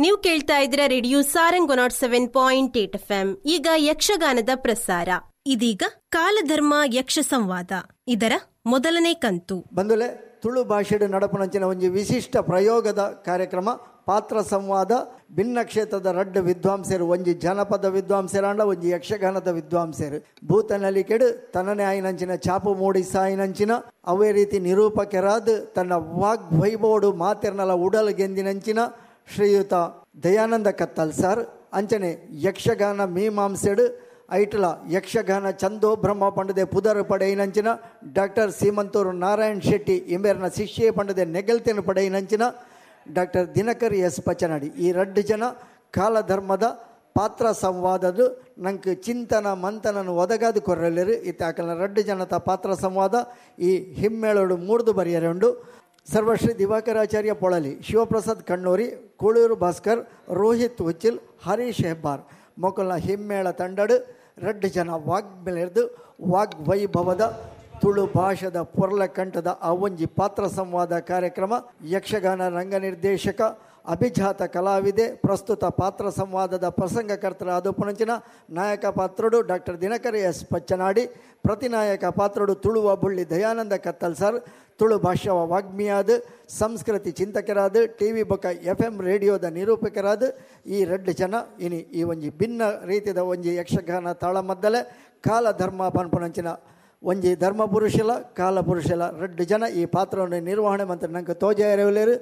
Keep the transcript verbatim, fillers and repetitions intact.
ನೀವು ಕೇಳ್ತಾ ಇದ್ದೀರಾ radio Sarang nought seven point eight F M. ಈಗ ಯಕ್ಷಗಾನದ ಪ್ರಸಾರ. ಇದೀಗ ಕಾಲಧರ್ಮ ಯಕ್ಷ ಸಂವಾದ, ಇದರ ಮೊದಲನೇ ಕಂತು. ಬಂದುಲೆ ತುಳು ಭಾಷೆಡು ನಡಪುನಂಚಿನ ಒಂಜಿ ವಿಶಿಷ್ಟ ಪ್ರಯೋಗದ ಕಾರ್ಯಕ್ರಮ ಪಾತ್ರ ಸಂವಾದ. ಭಿನ್ನ ಕ್ಷೇತ್ರದ ರಡ್ಡು ವಿದ್ವಾಂಸರು, ಒಂಜಿ ಜನಪದ ವಿದ್ವಾಂಸರಾಂಡ ಒಂಜಿ ಯಕ್ಷಗಾನದ ವಿದ್ವಾಂಸರು. ಭೂತನಲಿಕೆಡು ತನ್ನನೇ ಆಯಿನಂಚಿನ ಚಾಪು ಮೂಡಿಸಾಯಿನಂಚಿನ ಅವೇ ರೀತಿ ನಿರೂಪಕರಾದ ತನ್ನ ವಾಗ್ವೈಭವಡು ಮಾತೆರ್ನಲ ಉಡಲ್ ಗೆಂದಿನಂಚಿನ ಶ್ರೀಯುತ ದಯಾನಂದ ಕತ್ತಲ್ ಸರ್. ಅಂಚನೆ ಯಕ್ಷಗಾನ ಮೀಮಾಂಸೆಡು ಐಟ್ಲ ಯಕ್ಷಗಾನ ಚಂದೋ ಬ್ರಹ್ಮ ಪಂಡದೆ ಪುದರ್ ಪಡೆಯಿನಂಚಿನ ಡಾಕ್ಟರ್ ಸೀಮಂತೂರು ನಾರಾಯಣ್ ಶೆಟ್ಟಿ ಇಂಬೇರ್ನ ಶಿಷ್ಯೆ ಪಂಡದೆ ನೆಗಲ್ತೆನು ಪಡೆಯಿನಂಚಿನ ಡಾಕ್ಟರ್ ದಿನಕರ್ ಎಸ್ ಪಚನಾಡಿ. ಈ ರಡ್ಡು ಜನ ಕಾಲಧರ್ಮದ ಪಾತ್ರ ಸಂವಾದದು ನಂಗೆ ಚಿಂತನ ಮಂಥನನು ಒದಗಾದು ಕೊರಲಿರು. ಇತ್ತಾಕಲ್ನ ರಡ್ಡು ಜನತ ಪಾತ್ರ ಸಂವಾದ ಈ ಹಿಮ್ಮೇಳೋಡು ಮೂಡ್ದು ಬರೆಯರುಂಡು. ಸರ್ವಶ್ರೀ ದಿವಾಕರಾಚಾರ್ಯ ಪೊಳಲಿ, ಶಿವಪ್ರಸಾದ್ ಕಣ್ಣೂರಿ, ಕೂಳೂರು ಭಾಸ್ಕರ್, ರೋಹಿತ್ ಹುಚ್ಚಿಲ್, ಹರೀಶ್ ಹೆಬ್ಬಾರ್ ಮೊಕಲ್ನ ಹಿಮ್ಮೇಳ ತಂಡಡು ರಡ್ಡು ಜನ ವಾಗ್ಮೆಲೆರ್ದು ವಾಗ್ವೈಭವದ ತುಳು ಭಾಷೆದ ಪೊರ್ಲಕಂಠದ ಆ ಒಂಜಿ ಪಾತ್ರ ಸಂವಾದ ಕಾರ್ಯಕ್ರಮ ಯಕ್ಷಗಾನ ರಂಗನಿರ್ದೇಶಕ ಅಭಿಜಾತ ಕಲಾವಿದೆ ಪ್ರಸ್ತುತ ಪಾತ್ರ ಸಂವಾದದ ಪ್ರಸಂಗಕರ್ತರಾದ ಪುಣಂಚಿನ ನಾಯಕ ಪಾತ್ರಡು ಡಾಕ್ಟರ್ ದಿನಕರ್ ಎಸ್ ಪಚ್ಚನಾಡಿ, ಪ್ರತಿನಾಯಕ ಪಾತ್ರಡು ತುಳುವ ಬುಳ್ಳಿ ದಯಾನಂದ ಕತ್ತಲ್ ಸರ್, ತುಳು ಭಾಷವ ವಾಗ್ಮಿಯಾದ ಸಂಸ್ಕೃತಿ ಚಿಂತಕರಾದ ಟಿ ವಿ ಬೊಕ ಎಫ್ ಎಂ ರೇಡಿಯೋದ ನಿರೂಪಕರಾದ ಈ ರಡ್ಡು ಜನ ಇನಿ ಈ ಒಂಜಿ ಭಿನ್ನ ರೀತಿಯ ಒಂಜಿ ಯಕ್ಷಗಾನ ತಾಳಮದ್ದಲೆ ಕಾಲಧರ್ಮ ಪನ್ಪುನಂಚಿನ ಒಂಜಿ ಧರ್ಮ ಪುರುಷಲ ಕಾಲ ಪುರುಷಲ ರಡ್ಡು ಜನ ಈ ಪಾತ್ರವನ್ನು ನಿರ್ವಹಣೆ ಮಂತ್ರ ನಂಗೆ ತೋಜಾಯರವಲೇರು.